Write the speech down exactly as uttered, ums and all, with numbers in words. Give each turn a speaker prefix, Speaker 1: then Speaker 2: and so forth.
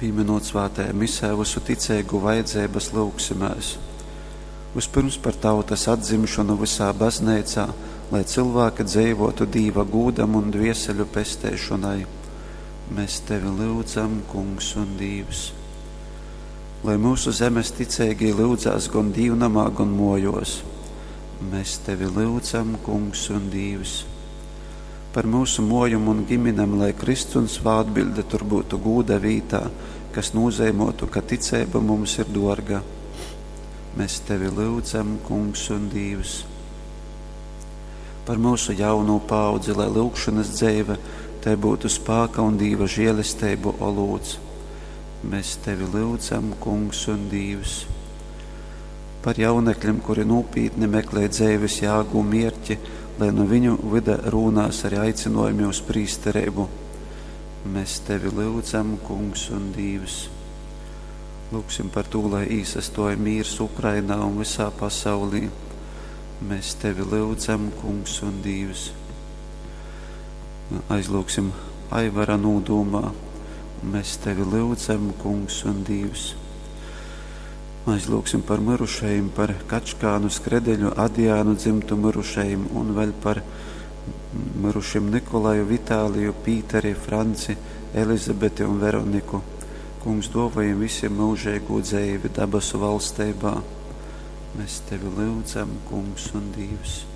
Speaker 1: Pīminot svātajā misē vysu ticeigu vajadzeibas, lyugsimēs. Vispirms par tautas atdzimšonu vysā bazneicā, lai cilvēki dzeivotu Dīva gūdam un dvieseļu pesteišonai. Mēs Tevi lyudzam, Kungs un Dīvs. Lai mūsu zemes ticeigī lyudzās gon dīvnamā, gon mojos. Mēs Tevi lyudzam, Kungs un Dīvs. Par mūsu mojum un giminem, lai Kristus un svātbilde tur būtu gūda vītā, kas nozīmotu, ka ticeiba mums ir dorga. Mēs Tevi lyudzam, Kungs un Dīvs. Par mūsu jauno paudzi, lai lūgšanas dzeive tai būtu spāka un Dīva žēlestību olūts. Mēs Tevi lyudzam, Kungs un Dīvs. Par jaunekļiem, kuri nopietni meklē dzeives jāgu un mierķi, lai no viņu vida rūnās arī aicinojumi uz prīsterību. Mēs Tevi lyudzam, Kungs un Dīvs. Lūksim par to, lai īsastoja mīrs Ukrainā un visā pasaulī. Mēs Tevi lyudzam, Kungs un Dīvs. Aizlūksim Aivara nūdūmā. Mēs Tevi lyudzam, Kungs un Dīvs. Aizlūksim par mirušajiem, par Kačkānu, Skredeļu, Adijānu dzimtu mirušajiem un vēl par mirušiem Nikolaju, Vitāliju, Pīteri, Franci, Elizabeti un Veroniku. Kungs, dāvājam visiem mūžīgu dzīvi dabasu valstībā. Mēs Tevi lūdzam, Kungs un Dievs.